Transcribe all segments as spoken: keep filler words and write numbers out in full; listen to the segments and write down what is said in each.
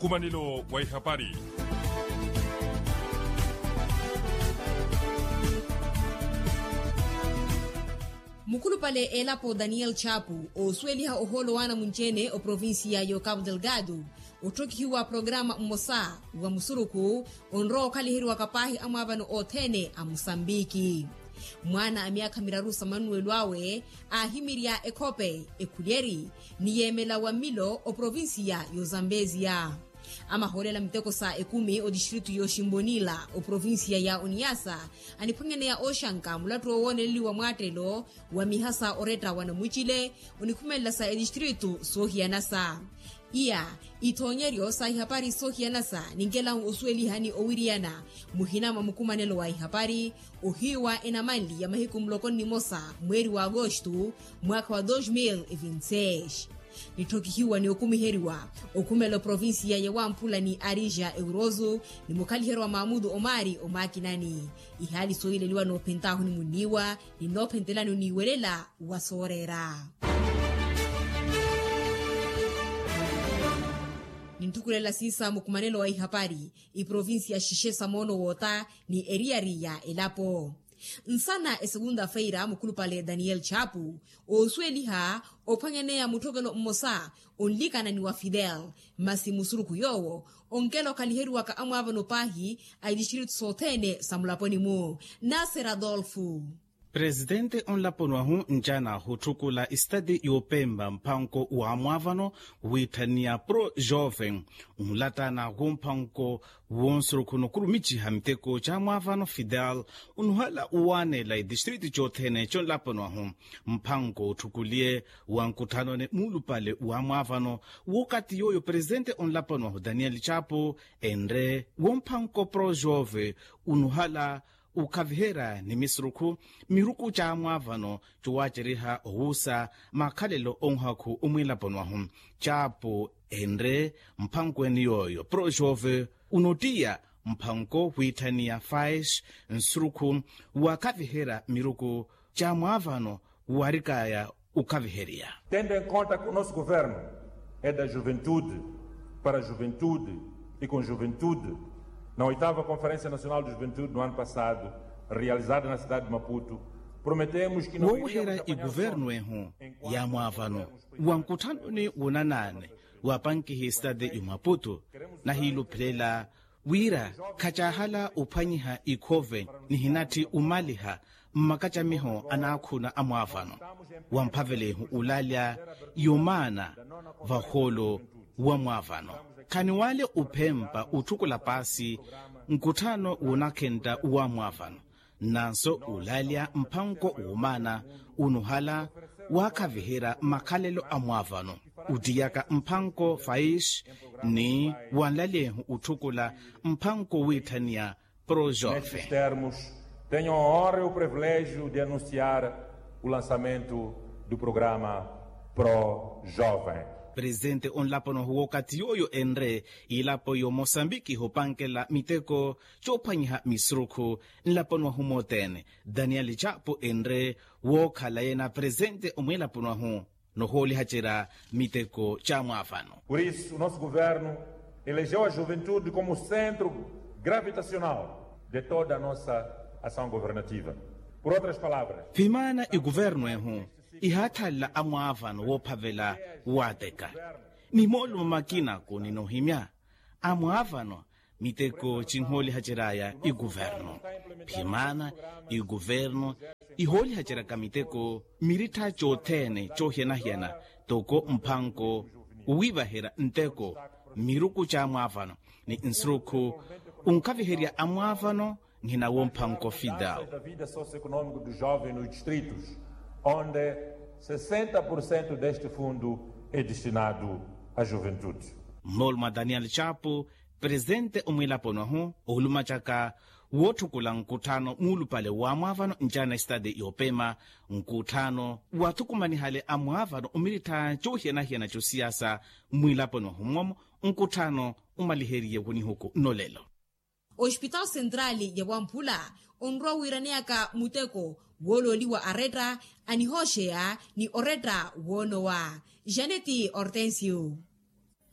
Nkumanelo wa ihapari. Mukhulupale elapo daniel chapu oosuweliha ohoolo waana munci-ene oprovinsiya y'okapu delgado, otthokihiwa programa mmosa wa musurukhu onrowa okhaliheriwaka paahi amwaavano othene a musambiki. Mwaana a myaakha miraru sa manuwelo awe aahimirya ekhope, ekhulyeri ni yeemela wa mmilo oprovinsiya y'ozambeziya. Amahoolela miteko sa ekumi otistritu y'oximbonila oprovinsiya ya oniyasa, aniphwanyaneya ooxanka mulattu owooneleliwa mwaattelo wa mihasa oretta wa namucile onikhumelela sa etistritu soohiyanasa. Iya, ithoonyeryo sa ihapari soohiyanasa ninkelahu osuwelihani owiriyana muhina mwa mukumanelo wa ihapari ohiiwa enamanli ya mahiku muloko nnimosa mweeri wa agostu mwaakha wa dos mil e vinti seis. Nitthokihiwa ni okumiheriwa okhumela oprovinsiya ya wamphula ni arija euroso ni mukhaliheryo wa maamutu omaari omaakinani. Ihaali sooyileliwa noophentaahu ni munniiwa ni noophentelani oniiwelela wa sooreera. Nintthukhulela siisa mukumanelo wa ihapari iprovinsiya xixe sa moono woota ni eriyari ya elapo. Nsana esegunda feira mukhulupale daniel chapu oosuweliha ophwanyaneya mutthokelo mmosa onlikana ni wa fidel, masi musurukhu yoowo onkela okhaliheriwaka amwaavano paahi a itistritu sothene sa mulaponi-mu. Nasser adolfo. Presitente onlaponi wahu ncaana ahutthukula esitati y'opempa mphanko w'amwaavano wiitthaniya pro joven, onlattana w'omphanko w'onsurukhu nokhurumiciha miteko c'amwaavano fidel, onuhala owaanela etistritu cothene c'onlaponi wahu. Mphanko otthukuliye wa nkutthanoni muulupale w'amwaavano w'okati yooyo presitente onlaponi wahu daniel chapo enre w'omphanko pro jove, onuhala okhaviherya ni misurukhu miruku c'amwaavano cowaaceriha owuusa makhalelo onhakhu omwiilaponi wahu. Chapo enre mphanko ene yooyo pro jove onottiya mphanko wiitthaniya fais nsurukhu wakhaviherya miruku c'amwaavano warikaya okhaviherya. Tendo em conta que o nosso governo é da juventude para a juventude e com juventude, na oitava conferência nacional de juventude no ano passado realizada na cidade de maputo, prometemos que não iríamos apanhar sono. Wooweherya ikuvernu ehu ya mwaavano wa nkutthanoni wonanaani wa pankihi sitati y'omaputo, nahiiluphelela wira khacaahala ophwanyiha ikhove nihinatthi omaliha mmakacamiho anaakhuna a mwaavano wa mphavelehu olalya yomaana vahoolo wa mwaavano. Khaniwale ophempa otthukula paasi nkutthano woonakhentta wa mwaavano, nnanso olalya mphanko woomaana onuhala waakhaviherya makhalelo a mwaavano ottiyaka mphanko fais ni wanlalyehu otthukula mphanko wiitthaniya pro jove. Nestes termos tenho a honra e o privilégio de anunciar o lançamento do programa pro jovem. Presitente onlaponi wahu w'okati yooyo enre ilapo y'omosambiki hopankela miteko c'ophwanyiha misurukhu nlaponi wahu mothene daniel chapo enre wookhala yeena presitente omwiilaponi wahu nohoolihacerya miteko c'amwaavano. Por isso o nosso governo elegeu a juventude como centro gravitacional de toda a nossa ação governativa. Por outras palavras, vimaana ikuvernu ehu ihaathalela amwaavano woophavela waateka ni moolumo makina kuninohimya amwaavano miteko cinhoolihaceryaya ikuvernu. Phimaana ikuvernu ihoolihaceryaka miteko mirittha cothene cohiyana-hiyana toko mphanko owiivaherya nteko miruku c'amwaavano ni nsurukhu onkhaviherya amwaavano nhina womphanko fidel. Da vida socioeconómica dos jovens nos distritos onde sessenta por cento deste fundo é destinado à juventude. Mmoolumo a daniel chapo presitente omwiilaponi wahu oolumacaka wootthukula nkutthano muulupale w'amwaavano ncaana esitati y'opema nkutthano waathukumanihale amwaavano omirittha coohiyana-hiyana c'osiyasa mmwiilaponi wahu mmomo nkutthano omaliheriye wonihuku nnolelo. Ospitaal sentraali ya wamphula onrowa wiiraneyaka muteko woolooliwa aretta anihooxeya ni oretta woonowa. Janeti hortensio.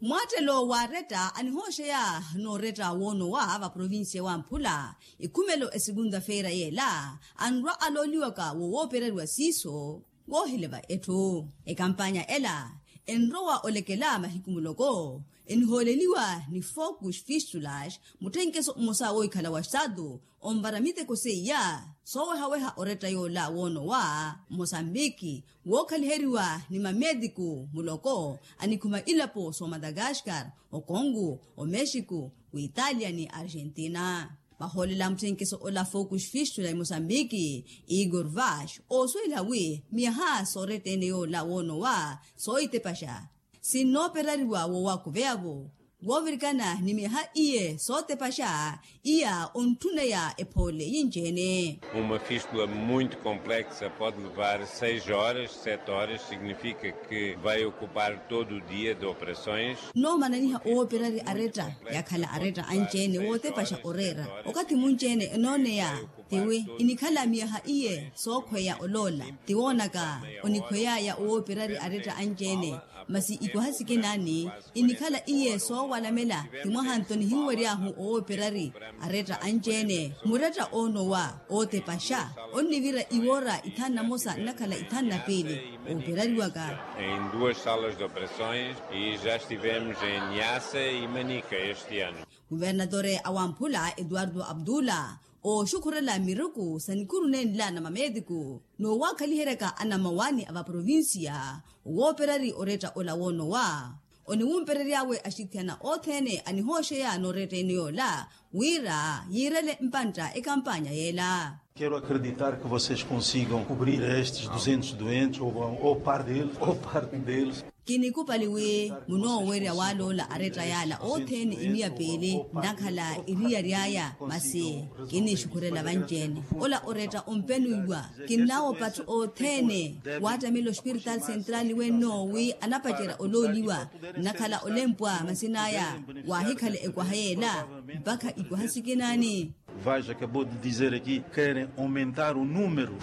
Mwaattelo waaretta anihooxeya nooretta woonowa va provincia wamphula, ikhumelo esegunta-feira yeela anrwa alooliwaka wo wooperariwa siiso. Woohileva etthu ekampanya ela enrowa olekela mahiku muloko enihooleliwa ni focus fistulas. Mutthenkeso mmosa woohikhala wa estatu onvara miteko seiya soowehaweha oretta yoola woonowa mosambiki, wookhaliheriwa ni mameetiku muloko anikhuma ilapo soomadagaskar, okongo, omexico, wiitalia ni argentina. Vahoolela mutthenkeso ola focus fistula emosambiki, igor vash oosuwela wi miyaha sooretta-ene yoola woonowa soohitepaxa sinnooperariwa woowakuveya-vo. Woovirikana ni miyaha iye sootepaxa iya ontthuneya ephoole yinci-ene. Uma fistula muito complexa pode levar seis horas sete horas significa que vai ocupar todo o dia de operações. Noomananiha owooperari aretta yakhala aretta anci-ene wootepaxa oreera okathi munci-ene enooneya. Tiwi inikhala miyaha iye sookhweya oloola. Tiwoonaka onikhweyaya owooperari aretta anci-ene masi ikwaha sikinaani inikhala iye soowalamela. Ti mwaha nto nihinwery'ahu owooperari aretta anci-ene muretta oonowa ootepaxa onnivira iwoora ithanu na mosa nnakhala ithanu na piili. Ooperariwaka em duas salas de operações e já estivemos em niassa e manica este ano. Kuvernatore a wamphula etuwarto abdula ooxukhurela miruku sa nikuru nenla na mameetiku noowaakhaliheryaka anamawani a vaprovincia owooperari oretta ola woonowa oniwumperery'awe axithiyana othene anihooxeya nooretta-ene yoola wira yiirele mpantta ekampanya yeela. Kero akreditar ke vocês konsigam kubrir estes duzentos doentes ou parte deles ou parte deles. Kinikupali wi munoowerya waloola aretta yaala othene imiya piili nnakhala iriya ry'aya masi kinixukhurela vanci-ene ola oretta ompenuiwa. Kinnawopa atthu othene waattamela ospiritaali sentrali wenno wi anapacerya olooliwa nnakhala olempwa masin'aya waahikhala ekwaha yeela mpakha ikwaha sikinaani. Vaja acabou de dizer aqui kerem aumentar o número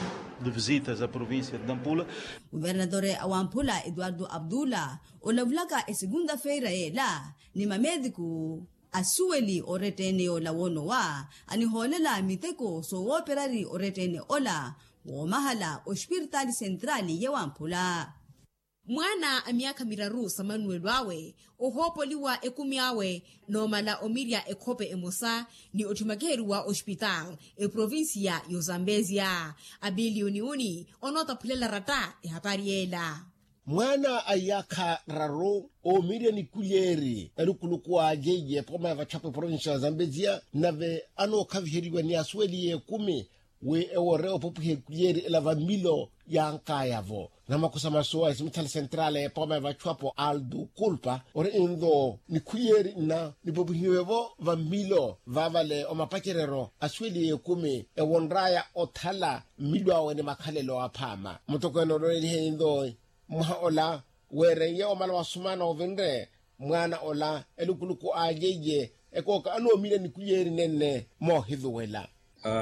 de visitas a provincia de nampula. Kuvernatore a wamphula etuwarto abdula olavulaka esegunta-feira yeela ni mameetiku asuweli oretta-ene yoola woonowa anihoolela miteko soowooperari oretta-ene ola woomahala ospiritaali sentrali ya wamphula. Mwaana a myaakha miraru sa manuwelo awe ohoopoliwa ekumi awe noomala omirya ekhope emosa ni otthimakiheriwa ospitaali eprovincia y'ozambezia. Abiliyoni uni onootaphulela ratta ehapari yeela. Mwaana a iyaakha raru oomirya nikulyeeri elukuluku a yeiye pooma ya vatthapu eprovincia y'ozambezia nave anookhaviheriwa ni asuweli y'ekumi wi ewoore opopwiha ekulyeeri ela va mmilo yaankaya-vo. Namakusa masu a esimitthali sentrali epooma ya vatthu apo aldo kulpa ori nto nikhulyeeri nna nipopwihiwe-vo va mmilo vaavale omapacereryo asuweli y'ekumi ewonr'aya othala mmilo awe ni makhalelo aphaama mutokweene oloolelihe nto mwaha ola weereiye omala wasumana ovinre mwaana ola elukuluku alyeiye ekooka anoomirya nikulyeeri nenne moohiluwela.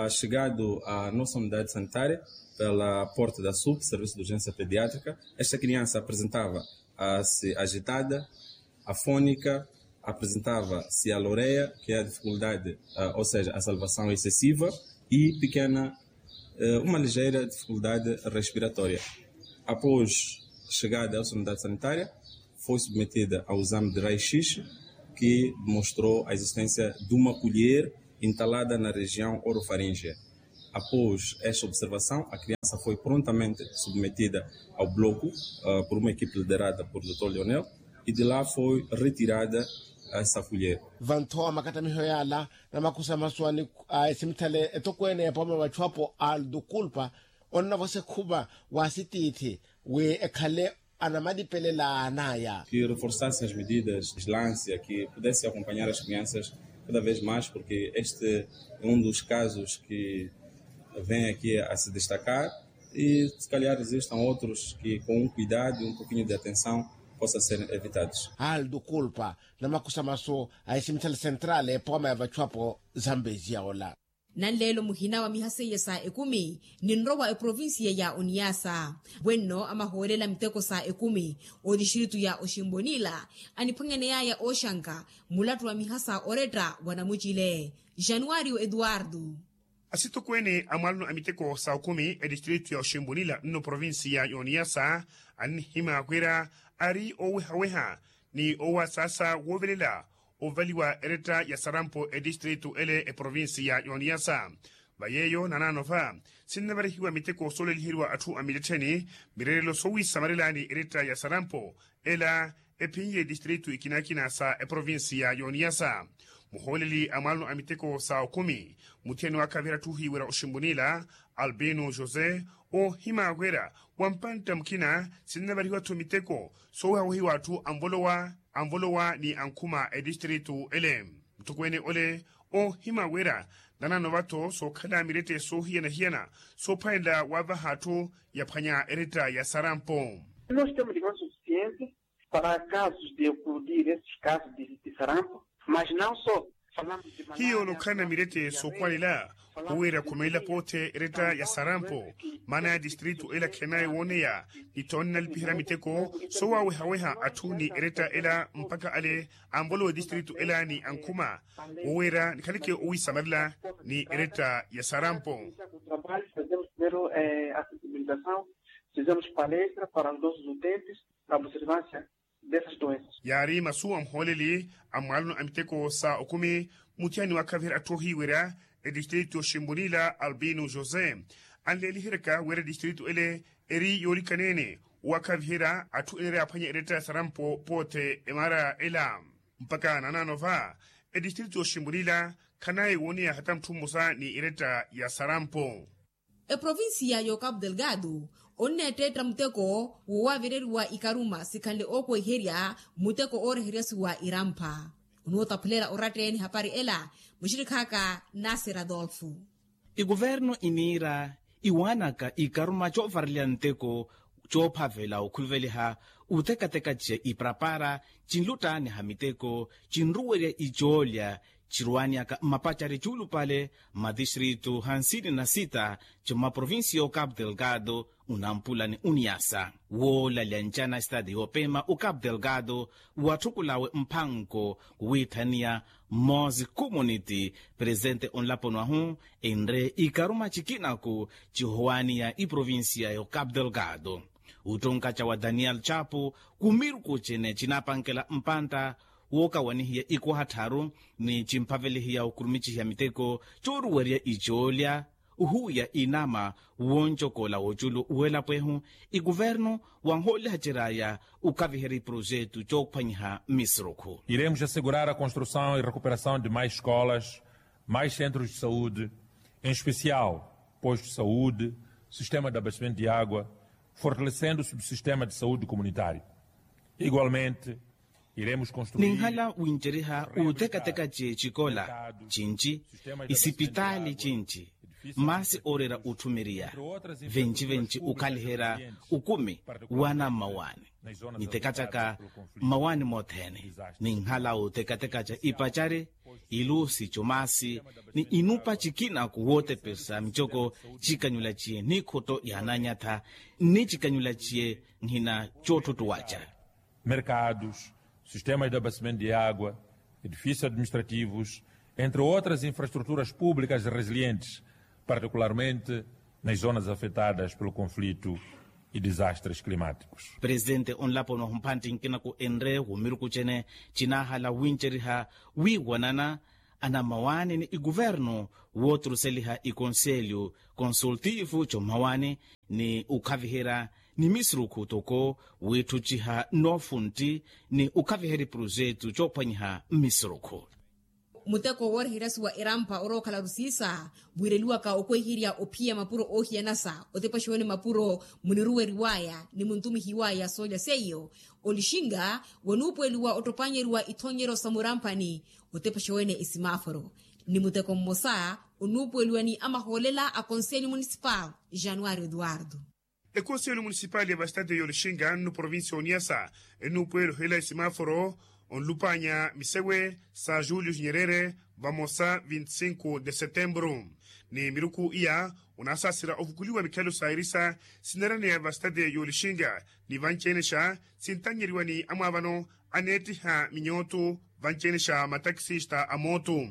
Chegado a nossa unidade sanitária pela porta da sup serviço de urgência pediátrica esta criança apresentava a se agitada, afônica, apresentava se a loreia que é a dificuldade ou seja a salvação excessiva e pequena uma ligeira dificuldade respiratória. Após chegada à unidade sanitária foi submetida ao exame de raio-x que demonstrou a existência de uma colher entalada na região orofaríngea. Após esta observação a criança foi prontamente submetida ao bloco por uma equipe liderada por doutor Leonel e de lá foi retirada essa colher. Vantho a makattamiho yaala namakusa masu a esimithale etokweene epooma vatthu apo aldo kulpa onnavosa ekhuva wa asitiithi wi ekhale anamalipelela anaya. Que reforçasse as medidas de vigilância que pudesse acompanhar as crianças cada vez mais porque este é um dos casos que vem aqui a se destacar e se calhar existam outros que com um cuidado e um pouquinho de atenção possa ser evitados. Aldo kulpa namakusa masu a esimithale sentrali epooma ya vatthu apo zambezia ola. Nanleelo muhina wa miha seiya sa ekumi ninrowa eprovincia ya oniasa. Wenno amahoolela miteko sa ekumi otistritu ya oximbonila aniphwanyaneyaya ooxanka mulattu wa miha sa oretta wa namucile. Januario eduardo. Asitokweene a mwalano a miteko sa okumi etistritu ya oximbonila nno provincia ya oniasa annihima wira ari owehaweha ni owasaasa woovelela ovaliwa eretta ya sarampo etistritu ele eprovincia ya oniasa. Va yeeyo nanaano va sinnavarihiwa miteko sooleliheriwa atthu a mittettheni mirerelo soowisamarelani eretta ya sarampo ela ephinye etistritu ikinakina sa eprovincia ya oniasa. Muhooleli a mwalano a miteko sa okumi muthiyani waakhavira atthu ohiiwerya oximbunila albino josé oohima wira wa mpantta mukina sinnavarihiwa-tho miteko soowehawehiwa atthu anvolowa anvolowa ni ankhuma etistritu ele. Mutokweene ole oohima wira nanaano va-tho sookhala mirette soohiyana-hiyana soophwanela wavaha atthu yaphwanya eretta ya sarampo. Nós temos de mãos suficientes para casos de eclodir esses casos de sarampo, mas não só. Hiyo onokhalana mirette sookwanela oweera khumelela poothe eretta ya sarampo. Maana ya tistritu ela khenaye wooneya ni ttoonne nalipiherya miteko soowawehaweha atthu ni eretta ela mpakha ale anvolowa etistritu ela ni ankhuma oweera nikhaleke owisamarela ni eretta ya sarampo. Trabalho fazemos primeiro a sensibilização, fizemos palestra para os nossos utentes na observância dessas doenças. Yaari masu a muhooleli a mwalano a miteko sa okumi muthiyani waakhaviherya atthu ohiiwerya etistritu yoximbunila albino josé anleeliheryaka wira etistritu ele eri yoolikaneene owaakhaviherya atthu enereya aphwanya eretta ya sarampo poothe emaara ela. Mpakha nanaano va etistritu yoximbunila khanaye wooneya hata mutthu mmosa ni eretta ya sarampo. Eprovincia y'ocapo delgado onneetteetta muteko woowavireriwa ikaruma sikhanle ookweherya muteko ooreheryasiwa irampha. Onuutaphulela oratta-ene hapari ela muxirikhaaka nasir adolfo. Ikuvernu iniira iwaanaka ikaruma coovareleya nteko coophavela okhuveliha utekateka ce iparapara cinluttaaniha miteko cinruwerya icoolya cirwaaniyaka mmapacari cuulupale mmatistritu hansini na sita ci mmaprovincia y'ocapo delgado unampula ni uniasa woolalya ncana estadi yoopema ocapo delgado watthukulawe mphanko wiithaniya mmosi community presente onlaponi wahu enre ikaruma cikinaku cihowaaniya iprovincia y'ocapo delgado. Uttonkaca wa daniel chapo kumiruku cene cinaapankela mpantta wookawanihiya ikuwaha tthaaru ni cimphavelihiya okurumicihiya miteko cooruwerya icoolya ohuwiya inama woncokola woculu welapo ehu ikuvernu wanhoolihaceryaya okaviherya iprojetu coophwanyiha mmisurukhu. Iremos assegurar a construção e recuperação de mais escolas, mais centros de saúde, em especial posto de saúde, sistema de abastecimento de água, fortalecendo o subsistema de saúde comunitário. Igualmente, ninhala winceriha utekateka ce cikola cinci isipitaali cinci masi ooreera otthumeriya venci-venci okhaliherya okumi wa nammawaani nitekataka mmawaani mothene ninhala utekateka ca ipacari ilusi comasi ni inupa cikinaku wootepesa micoko cikanyula ciye nikhotto yaananyatha nni cikanyula ciye nhina coottuttuwaca mercados, sistemas de abastecimento de água, edifícios administrativos, entre outras infraestruturas públicas resilientes, particularmente nas zonas afetadas pelo conflito e desastres climáticos. Presente onlaponi wahu mphantti nkinaku enre wumiruku cene cinaahala winceriha wiiwanana anammawaani ni ikuvernu wooturuseliha ikonselyu konsultivu commawaani ni okhaviherya ni misurukhu toko wiitthuciha noofuntti ni okhaviherya iprojetu coophwanyiha mmisurukhu. Muteko wooreheryasiwa irampha orookhala rusiisa wiireliwaka okweherya ophiya mapuro oohiyanasa otepaxiwene mapuro muniruweriwaya ni muntumihiwaya soolya seiyo olixinga wanuupuweliwa ottopanyeriwa ithoonyeryo sa muramphani otepaxa wene esimaforo ni muteko mmosa onuupuweliwa ni amahoolela a konselho municipal januario eduardo. Ekonselho municipal ya vastade y'olixinga nno provincia y'oniasa enuupuwela ohelela esimaforo Onlupanya misewe sa julius nyerere vamosa vinti sinku de setembru. Ni miruku iya onasaasira ovukuliwa mikhelo sa irisa sineraneya vastade yolixinga ni vancenexa sintanyeriwa ni amwaavano aneettiha minyootu vancenexa matakisista a mootu.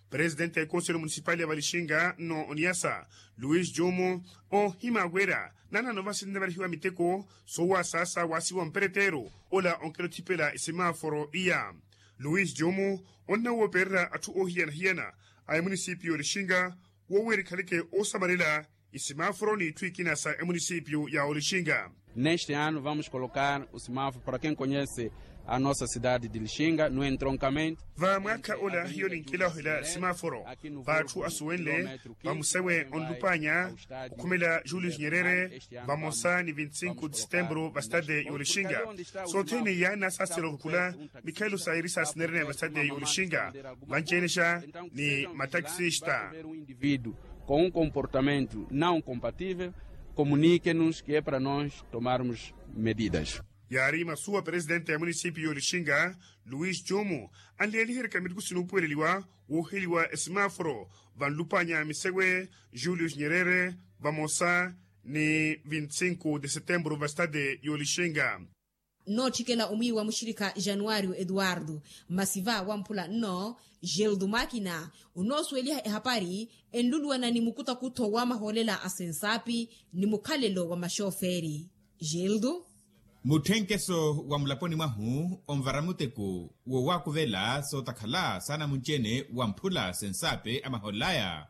Presidente ya ekonselo munisipali ya valixinga nno oniyasa luis jumu oohima wira nanano vasinne varihiwa miteko soowasaasa waasiwa mperetteru ola onkela othipela isimaforo iya. Luis jumu onnawoopererya atthu oohiyana-hiyana a emunisipiyu olixinga woowira ikhaleke oosamarela isimaforo n'itthu ikina sa emunisipiyu ya olixinga. Neste ano vamos colocar o simaforo para quem conhece a nossa cidade de lixinga no entroncamento. Va mwaakha ola hiyo ninkilahela simaforo vaatthu asuwenle vamusewe onlupanya okhumela julius nyerere vamosa ni vinti sinku de setembru vastade yolixinga. Sothene yaana saasela ovukula mikhelo sa iri saasinereneya vastade yolixinga vancenexa ni matakisista. Indivíduo com um comportamento não compatível, comunique nos que é para nós tomarmos medidas. Yaari masuwa presidente ya munisipiyu yolixinga luis jumu anleeliheryaka miruku sinuupuweleliwa wooheliwa esimaforo vanlupanya misewe julius nyerere vamosa ni vinti sinku de setembru vastade yolixinga. Nnootthikela omwiiwa muxirikha januwariyo eduwardo masi va wamphula nno gildo makina onoosuweliha ehapari enluluwana ni mukutakutho wa mahoolela a sensaapi ni mukhalelo wa maxooferi. Gildo. Mutthenkeso wa mulaponi mwahu onvara muteko woowaakuvela sootakhala saana munci-ene wamphula sensaapi a mahoolel'aya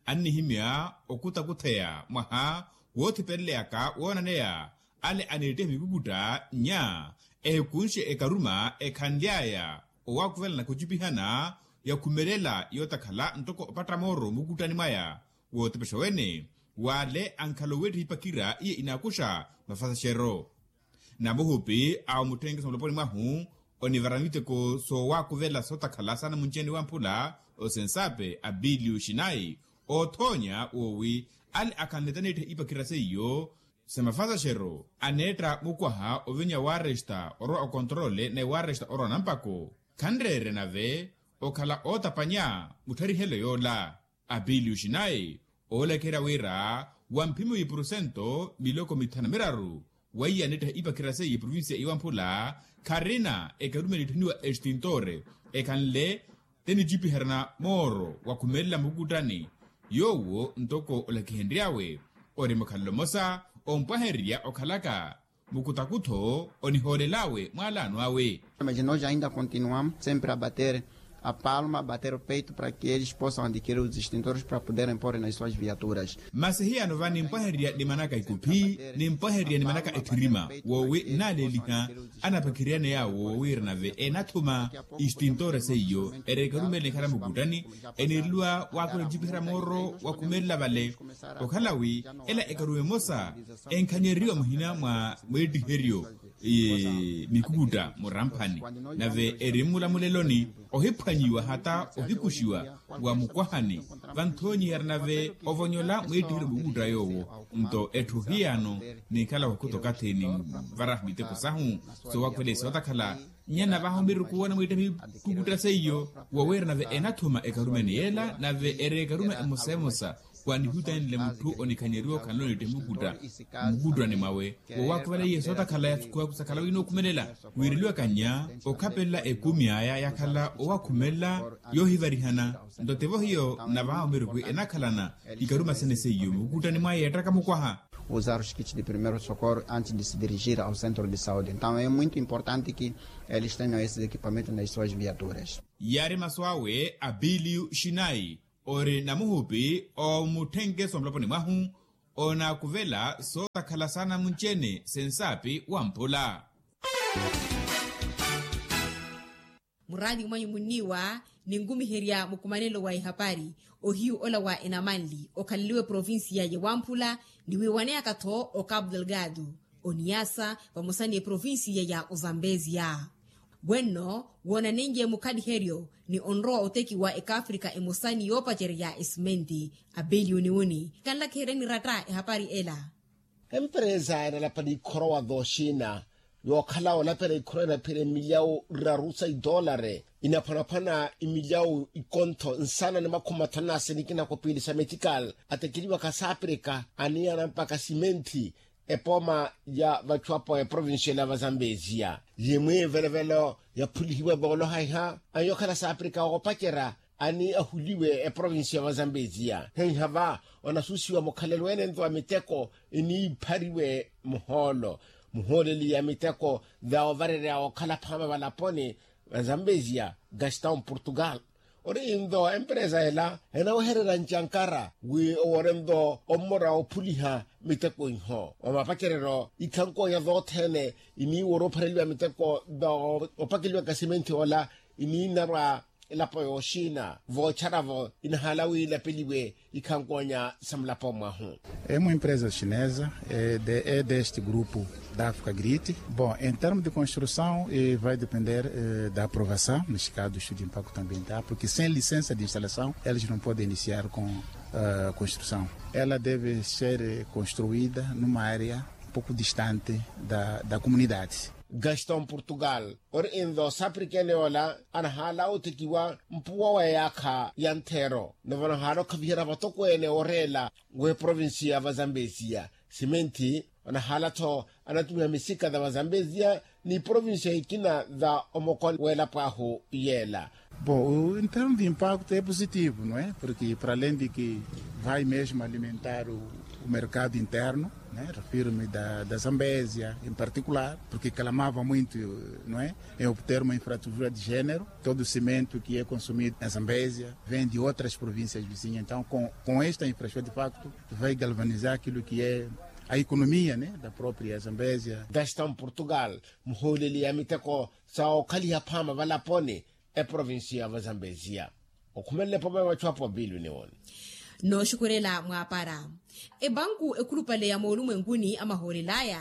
annihimya okutakutheya mwaha woothipeleleyaka woonaneya ale aneettiha mikukutta nnya ehikunxe ekaruma ekhanly'aya owaakuvelana kucipihana yakhumelela yootakhala ntoko opatta mooro mukuttani mwaya wootepexa wene w'ale ankhala oweettiha ipakira iye inaakuxa mafasaxero. Namuhupi awo mutthenkeso muloponi mwahu onivara miteko soowaakuvela sootakhala saana munci-ene wamphula osensaapi abilio xinayi oothoonya woowi ale akhanlete aneettiha ipakira seiyo sa mafasaxero aneetta mukwaha ovinya waresta orowa okontorole naye waresta orowa nampako khanreerya nave okhala ootapanya mutharihelo yoola. Apiliuxi naye oolakerya wira wa mphimi wa ipurusento miloko mithanu na miraru weiya aneettaha ipakira seiye provincia iwamphula kharina ekarumeli etthuniwa extintore ekhanle tenicipiheryana mooro wa khumelela mukukuttani yoowo ntoko olakihenry'awe ori mukhalelo mmosa ompwahererya okhalaka mukutakutho onihoolel'awe mwaalano awe. Mas noja ainda continuamos sempre a bater a palma bater o peito para que eles possam adquirir os extintores para poderem pôr nas suas viaturas. Masi hiyano va nimpwahererya nimanaka ikuphi nimpwahererya nimanaka etthirima woowi nnaaleeliha anapakheriyane yaawo woowiira nave enathuma extintore seiyo eri ekarumeli nikhala mukuttani eniireliwa waakhula ocipiherya mooro wa khumelela vale okhala wi ela ekarume emosa enkhanyeriwa muhina mwa mweettiheryo mikukutta muramphani nave eri mmulamuleloni ohiphwanyiwa hata ohikuxiwa wa mukwahani vanthoonyiherya nave ovonyola mweettiheryo mukukutta yoowo nto etthu hiyano ninkhala wakhutha okathi ninvaraha miteko sahu soowakhwelesa otakhala nyana vaha omiruku woona mwiitta mikukutta seiyo wowiira nave enathuma ekarumeni yeela nave eri ekaruma emosa emosa wanihutanile mutthu onikhanyeriwa okhanle oniitta mukutta mmukuttani mwawe wowaakhuvala iye sootakhala yathukuwaku sakhala winookhumelela wiireliwaka nnya okhapelela ekumi aya yakhala owakhumelela yoohivarihana nto tivo hiyo navaha omiruku enakhalana ikaruma sene seiyo mukuttani mwaye yeettaka mukwaha. Usar os kits de primeiro socorro antes de se dirigir ao centro de saúde então é muito importante que eles tenham esses equipamentos nas suas viaturas. Yaari masu awe abilio xinai ori namuhupi omutthenkeso wa muloponi mwahu onaakuvela sootakhala saana munci-ene sensaapi wamphula. Muraati mwanyu munniiwa ninkumiherya mukumanelo wa ehapari ohiyu ola wa enamanli okhaleliwe provincia ya wamphula ni wiiwaneyaka-tho o cabo delgado oniyasa vamosa ni eprovincia ya ozambezia wenno woonanenye mukhaliheryo ni onrowa otekiwa ekafrika emosa ni yoopacerya esimenti apeliyuni wuni kanlakiheryani ratta ehapari ela. Emperesa enalapani khorowa thooxina yookhala olapela ikhurana phira emilyawu raru sa idoolari inaphwanaphwana imilyawu ikontho nsana ni makhumi mathanu na sini ikina kopiili sa metikali atekeliwaka saapirika aniyana mpakha simenthi epooma ya vachu apo eprovincia la vazambesia yimwi evelevelo yaphulihiwa vooloha iha anyokhala saapirika oopacerya ani ahuliwe eprovincia ya vazambesia heiha va onasusiwa mukhalelo ene nto wa miteko iniiphariwe muhoolo muhooleli ya miteko va ovarerya okhala phaama valaponi vazambesia gaston portugal ori nto emperesa ela enawehererya ncankara wi oworenlo ommora ophuliha miteko iho omapacereryo ikhankonya zothene iniiwora ophareliwa miteko opakeliwa kasimenthi ola iniinarwa elapo yooxina voocharavo inahala wi ilapeliwe ikhankonya sa mulapo mwahu. Emu empresa chinesa de este grupo da afkagrite. Bom, em termos de construção vai depender da aprovação neste caso do estudo de impacto ambiental porque sem licença de instalação eles não podem iniciar com construção. Ela deve ser construida numa área pouco distante da comunidade. Gaston portugal ori inlo saprikene ola anahala otekiwa mpuwa wa yaakha ya nthero navo anahala okhaviherya vatokweene oreela w'eprovinsiya va zambesia simenthi anahala-tho anatumiha misika tha va zambesia ni provinsiya ikina tha omokoni w'elapo ahu yeela. Bom, em termos de impacto é positivo, não é? Porque para além de que vai mesmo alimentar o mercado interno, refiro-me da zambésia em particular, porque clamava muito, não é, em obter uma infraestrutura de género. Todo o cimento que é consumido na zambésia vem de outras províncias vizinhas, então com esta infraestrutura de facto vai galvanizar aquilo que é a economia da própria zambésia. Gaston portugal, muhooleli ya miteko sa okhaliha phaama valaponi eprovinsiya va zambesia. Okhumelele poma ya machu apo bilu niwoni. Nooxukhurela mwaapara epanku ekhulupale ya moolumwenkuni a mahoolel'aya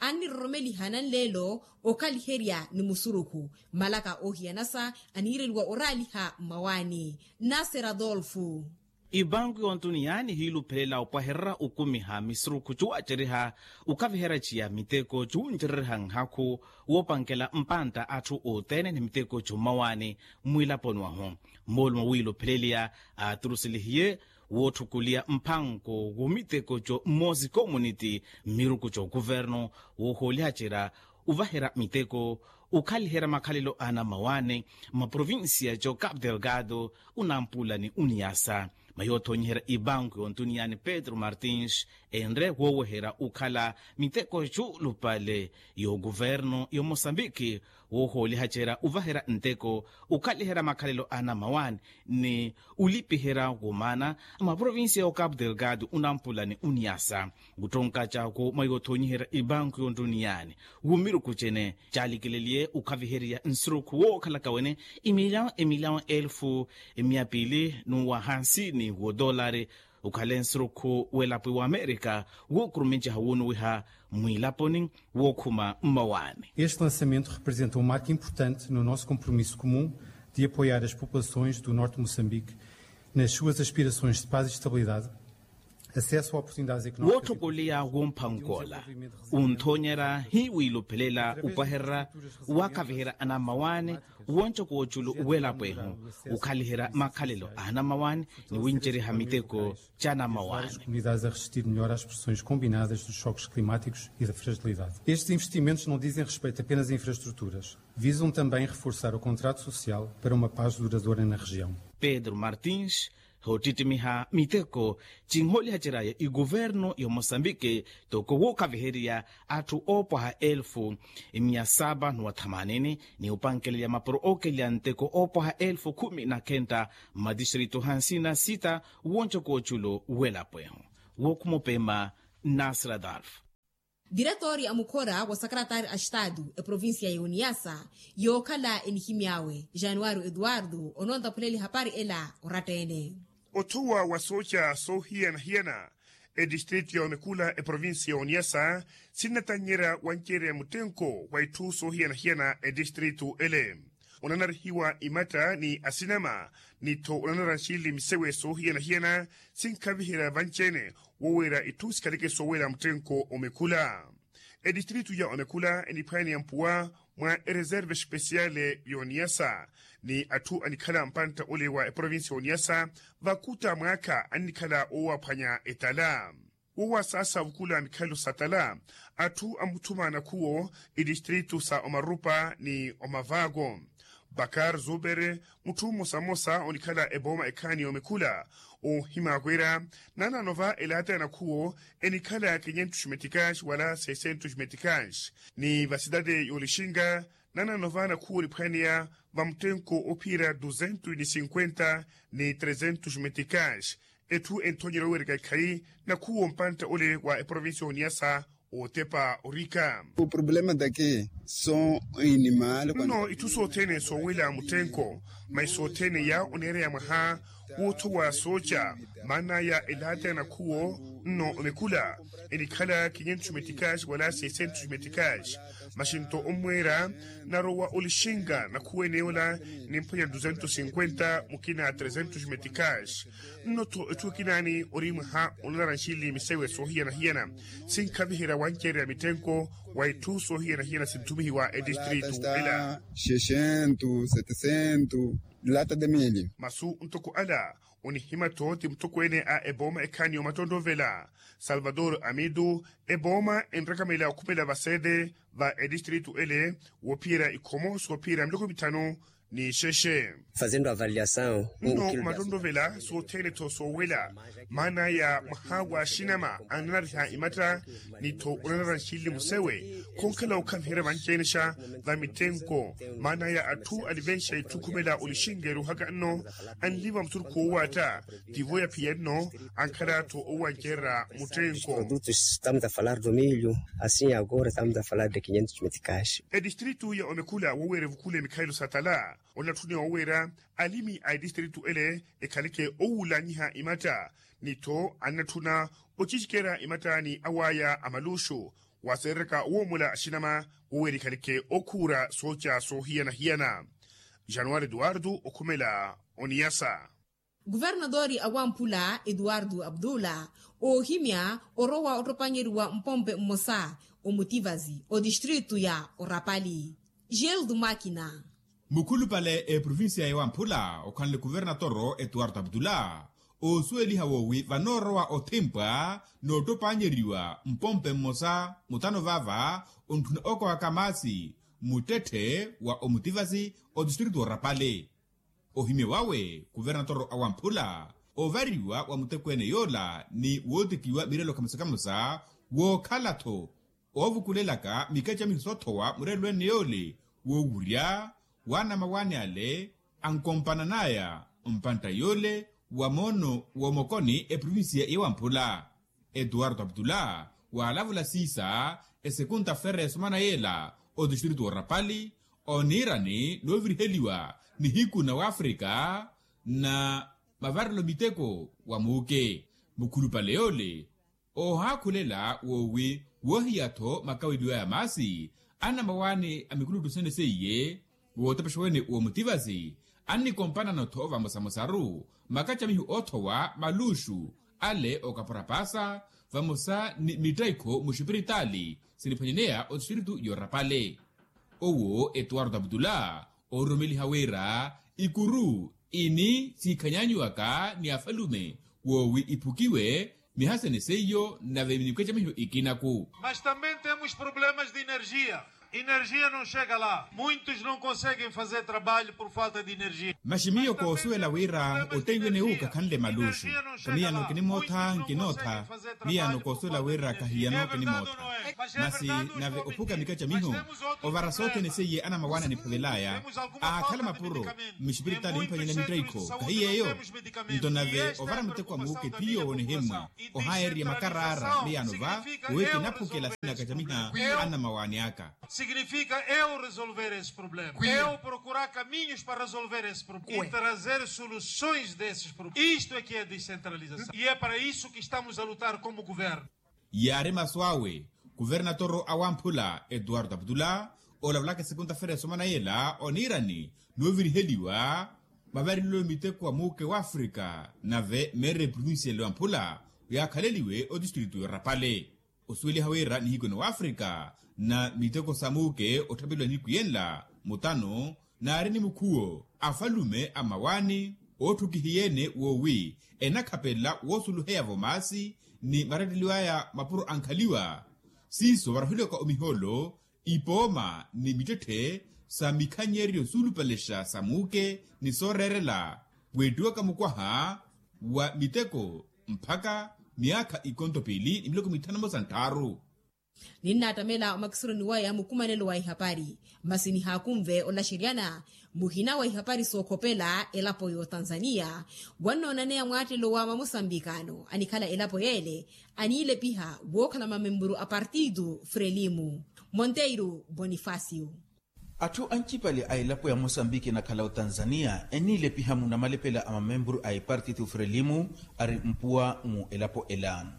anniroromeliha nanleelo okhaliherya ni musurukhu. Malaka oohiyanasa aniireliwa oraaliha mmawaani. Nasera adolfu. Ipanku yontuniyani hiiluphelela opwahererya okumiha misurukhu cuwaceriha okaviherya ciya miteko cuwuncereriha nhakhu woopankela mpantta atthu othene ni miteko cummawaani. Mwiilaponi wahu moolumo wiilupheleliya aaturuselihiye wootthukuliya mphanko w'omiteko co mmosi community mmiruku c'okuvernu woohoolihacerya ovaherya miteko okhaliherya makhalelo a anammawaani mmaprovinsiya co capu delgado, unampula ni uniyasa. Mayoothoonyiherya ipanku yontuniyani petru martins enre wooweherya okhala miteko cuulupale y'okuvernu y'omosambiki woohoolihacerya ovaherya nteko okhaliherya makhalelo a anammawaani ni olipiherya womaana mmaprovinsiya y'ocapu delgado unampula ni uniyasa. Kuttonka caakwo mwa yoothoonyiherya epanku yontuniyani w'omiruku cene caalikeleliye okhaviherya nsurukhu wookhalaka wene emilyawo emilyawo elfu emiya piili n'uwa hansini w'odoolari okhale nsurukhu w'elapo wa amerika wookurumenceha woonuwiha mwiilaponi wookhuma mmawaani. Este lançamento representa um marco importante no nosso compromisso comum de apoiar as populações do norte de moçambique nas suas aspirações de paz e estabilidade. Wootthokoleya w'omphank'ola unthoonyerya hiwiiluphelela opwahererya waakaviherya anammawaani wonco kooculo w'elapo ehu okhaliherya makhalelo a anammawaani ni winceriha miteko c'anammawaani. Comunidades a resistir melhor às pressões combinadas dos choques climáticos e da fragilidade estes investimentos não dizem respeito apenas a infraestruturas. Visam também reforçar o contrato social para uma paz duradoura na região. Pedro martins hoottittimiha miteko cinhoolihacery'aya ikuvernu y'omosambiki toko wookhaviherya atthu oopwaha elfu miya sapa n'uwa thamanini ni opankeleya mapuro ookeleya nteko oopwaha elfu khumi na khenta mmatistritu hansina sita wonco kooculo w'elapo ehu. Wookhuma opema nasira adolfu. Diretori a mukhora wa sakaratari a estadu eprovincia ya uniasa yookhala enihimy'awe januario eduardo onontaphulela ehapari ela oratta-ene. Othuwa wa sooca soohiyana-hiyana etistritu ya omekula eprovincia ya uniasa sinnatannyerya wanceerya muttenko wa itthu soohiyana-hiyana etistritu ele. Onanarihiwa imatta ni asinama ni-tho onanara nxinli misewe soohiyana-hiyana sinkhaviherya vanci-ene woweera itthu sikhaleke sooweera muttenko omekhula. Etistritu ya omekula eniphwanya ni yampuwa mwa ereserve espesiyale y'oniyasa ni atthu anikhala mpantta ole wa eprovincia y'oniyasa. Vakuta mwaakha annikhala woowaphwanya etala woowasaasa vukula mikhalelo sa tala. Atthu amuthuma nakhuwo etistritu sa omarupa ni omavaako. Bakar zubere mutthu mmosa mmosa onikhala epooma ekhaani y'omekhula oohimya wira nanano va elaata ya nakhuwo enikhala quinhentos meticais wala seiscentos meticais, ni vasitati y'olixinga nanano va nakhuwo oniphwaneya vamuttenko ophiira duzentos ni cinquenta ni trezentos meticais. Etthu enthonyerya oweereka ekhayi nakhuwo mpantta ole wa eprovincia y'oniyasa ootepa orika. O problema daki son inimal nno itthu sothene soowela muttenko, masi sothene ya oneereya mwaha woothowa sooca maana ya elaata ya nakhuwo nno omekula enikhala quinhentos meticais wala seiscentos meticais. Masi nto ommweera narowa olixinga nakhuwo ene ola nimphwanya duzentos cinquenta mukina trezentos meticais. Nno-tho etthu ekinaani ori mwaha onanara nxinli misewe soohiyana-hiyana sinkhaviherya wanceererya mittenko wa itthu soohiyana-hiyana sinthumihiwa etistritu ela. Xixentu setesento lata de milio. Masu ntoko ala onihimya-tho ti mutokweene a epooma ekhaani y'omattontovela salvador amitu. Epooma enrakamela okhumela vasete va etistritu ele woophiyerya ikhomo soophiyerya miloko mithanu ni xexe. Fazendo avaliasaw nno omattontovela sothene-tho soowela maana ya mwaha wa axinama ananariha imatta ni-tho onanara nxinli musewe. Khonkhala okhaviherya vanci-ene-xa va mittenko maana ya atthu alivenxa itthu khumela olixinga eruhaka nno anliva musurukhu woowaatta tivo yaphiya nno ankhala-tho owancererya muttenko. Produtos estamos a falar do milho assim agora estamos a falar de quinhentos meticais. Etistritu ya omekhula woweera evukula emikhalelo sa tala onatthuniwa woweera alimi a etistritu ele ekhaleke owuulanyiha imatta ni-tho annatthuna ocicikerya imatta ni awaya a maluxu waseereraka owoomola axinama woweera ekhaleke okhuura sooca soohiyana-hiyana. Januwari eduwardo okhumela oniyasa. Kuvernatori a wamphula etuwartu aptula oohimya orowa ottopanyeriwa mpompe mmosa omutivasi otistritu ya orapali. Gel dumakina. Mukhulupale eprovincia ya wamphula okhanle kuvernatoro etuwartu aptula oosuweliha woowi vanoorowa othimpwa noottopanyeriwa mpompe mmosa mutano vaava ontthuna okowaka maasi muttetthe wa omutivasi otistritu orapali. Ohimya wawe kuvernatoro a wamphula ovariwa wa mutekweene yoola ni wootikiwa mirelo kamosa-kamosa wookhala-tho oovukulelaka mikacamiho soothowa murelweene yoole woowurya waana mawaani ale ankompanan'aya mpantta yoole wa moono w'omokoni eprovincia ya wamphula. Etuwarto aptula waalavula siisa esekunta fere esomana yeela otistritu orapali oniirani nooviriheliwa nihiku na wafrika na mavarelo miteko wa muuke mukhulupale yoole oohaakhulela woowi woohiya-tho makaweliwa ya maasi anamawaani a mikuluttu sene seiye wootepexa wene woomutivasi annikompanano-tho vamosamosaru makacamiho oothowa maluxu ale okapora paasa vamosa ni mittaikho muxipiritaali siniphwanyaneya otistritu yoorapale. Owo etuwarto aptula oororomeliha wira ikuru ini siikhanyanyiwaka ni afalume woowi iphukiwe mihasene seiyo nave mikacamiho ikinaku. Mas também temos problemas de energia. Energia não chega lá muitos não conseguem fazer trabalho por falta de energia. Masi miyo koosuwela wira otteiwene uka khanle maluxu kamiyano kinimootha nkinootha. Miyano koosuwela wira kahiyano kinimootha masi nave ophuka mikacamiho ovara sothene seiye anamawaani aniphavel'aya aakhala mapuro mixipiritaali mphwanyela mittaikho kahiyeeyo. Nto nave ovara muteko wa muuke tiyo woonihimmwa ohaayererya makaraara miyano va wowi kinaphukela sinakacamiha anamawaani aka. Signifika eu resolver esse problema eu procurar caminhos para resolver esse problema e trazer soluções desses problemas isto é que é descentralização e é para isso que estamos a lutar como governo. Yaari masu awe kuvernatoro a wamphula etuwarto aptula olavulaka esekunta fere esomana yeela oniirani nooviriheliwa mavarelo miteko wa muuke wafrika nave meera eprovincia ele wamphula oyaakhaleliwe otistritu yoorapale. Osuweliha wira nihiku ene w'afrika na miteko sa muuke otthapeliwa nihiku yenla mutano, naari ni mukhuwo afalume a mmawaani ootthukihiye-ene woowi enakhapelela woosuluheya-vo maasi ni maretteliw'aya mapuro ankhaliwa. Siiso varohiwaka omihoolo, ipooma ni mittetthe sa mikhanyeryo suulupalexa sa muuke ni sooreerela, weettiwaka mukwaha wa miteko mpakha myaakha ikonto piili ni miloko mitthanu-mo sa ntthaaru. Ninnaattamela omakisuruni waya mukumanelo wa ihapari, masi nihaakunve olaxeryana muhina wa ihapari sookhopela elapo y'otanzaniya. Wannoonaneya mwaattelo wa mamosambikano anikhala elapo y'ele aniilepiha wookhala mamempuru a partitu frelimu. Monteiro bonifacio. Atthu ancipale a elapo ya mosambiki enakhala otanzaniya eniilepiha mu namalepela a mamempuru a epartitu frelimu ari mpuwa mu elapo ela.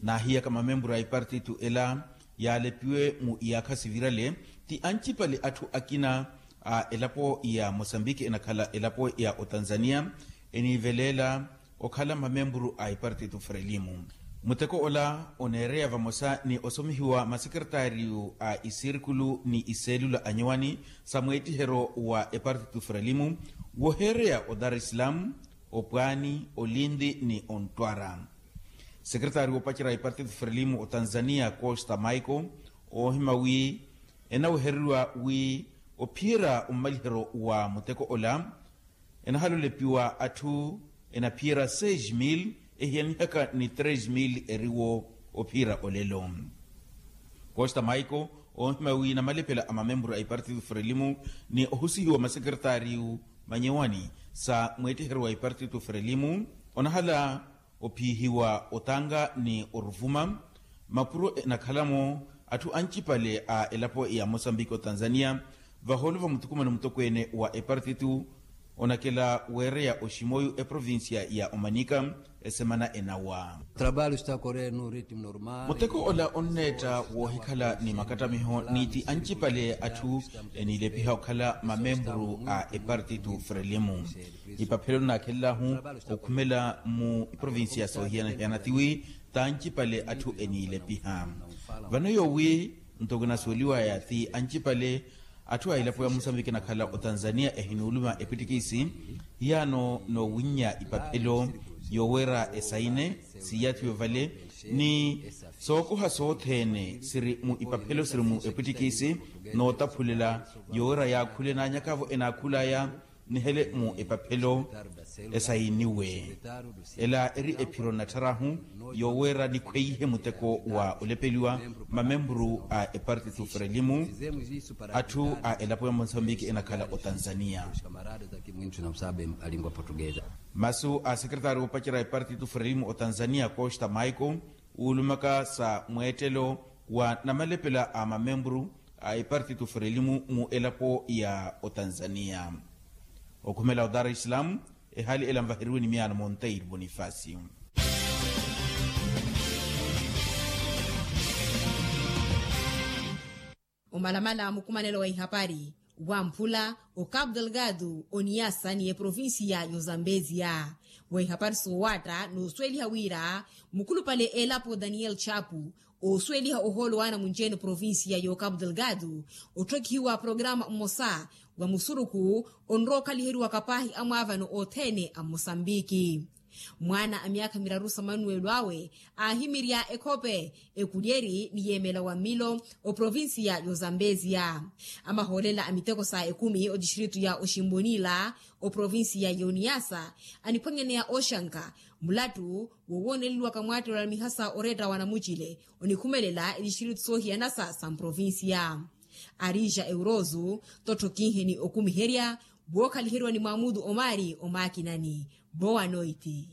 Naahiyaka mamempuru a epartitu ela yaalepiwe mu iyaakha sivirale ti ancipale atthu akina a elapo ya mosambiki enakhala elapo ya otanzaniya eniiveleela okhala mamempuru a epartitu frelimu. Muteko ola oneereya vamosa ni osomihiwa masekeretaariyu a isirikulu ni iseelula anyowani sa mweettiheryo wa epartitu frelimu woheereya o dar es salaam, opwaani, olinti ni ontwara. Sekeretaari woopacerya epartitu frelimu otanzaniya costa michael oohima wi enawehereriwa wi ophiyerya ommaliheryo wa muteko ola enahalolepiwa atthu enaphiyerya seis mil ehiyanihaka ni tres mil eriwo ophiyerya olelo. Costa michael oohima wi namalepela a mamempuru a epartitu frelimu ni ohusihiwa masekeretaariyu manyewani sa mweettiheryo wa epartitu frelimu onahala ophiihiwa otanga ni oruvuma mapuro enakhala-mo atthu ancipale a elapo ya mosambiki otanzaniya vahoolo va muthukumano mutokweene wa epartitu onakela weereya oximoyu eprovincia ya omanika esemana enawa. Trabalho está a correr num ritmo normal. Muteko ola onneetta woohikhala ni makattamiho ni ti ancipale atthu eniilepiha okhala mamempuru a epartitu frelimu. Ipaphelo nnaakhelel'ahu okhumela mu iprovincia soohiyana-hiyana tiwi taancipale atthu eniilepiha vano yoowi nto kinasuweliwaya ti ancipale atthu a elapo ya musambiki enakhala otanzaniya ehinuuluma epwittikisi hiyaano noowinnya ipaphelo yooweera esayine siiyathiwe vale ni sookoha sothene siri mu ipaphelo siri mu epwittikisi nootaphulela yooweera yaakhule naanyakavo enaakhul'aya nihele mu epaphelo esayiniwe. Ela eri ephiro nattharahu yooweera nikhweihe muteko wa olepeliwa mamempuru a epartitu frelimu atthu a elapo ya mosambiki enakhala otanzaniya. Masu a sekeretaari woopacerya epartitu frelimu otanzaniya costa michael wuulumaka sa mweettelo wa namalepela a mamempuru a epartitu frelimu mu elapo ya otanzaniya. Okhumela o dar es salaam ehaali ela nvaheriwe ni miyaano monteiro bonifacio. Omalamala mukumanelo wa ihapari wamphula o cabo delgado oniyasa ni eprovincia y'ozambezia. Wa ihapari soowaatta noosuweliha wira mukhulupale elapo daniel chapu oosuweliha ohoolo waana munci-ene provincia y'ocabo delgado otthokihiwa programa mmosa wa musurukhu onrowa okhaliheriwaka paahi amwaavano othene a mmosambiki. Mwaana a myaakha miraru sa manuwelo awe aahimirya ekhope ekulyeri ni yeemela wa mmilo oprovincia y'ozambezia. Amahoolela a miteko sa ekumi otistritu ya oximbonila oprovincia y'oniyasa aniphwanyaneya oxanka mulattu wowooneleliwaka mwaattelo a mihasa oreetta wa namucile onikhumelela etistritu soohiyanasa sa mprovincia. Arija eurozu tottho kinheni okumiherya wookhaliheriwa ni mwamudu omari omaakinani. Boa noiti.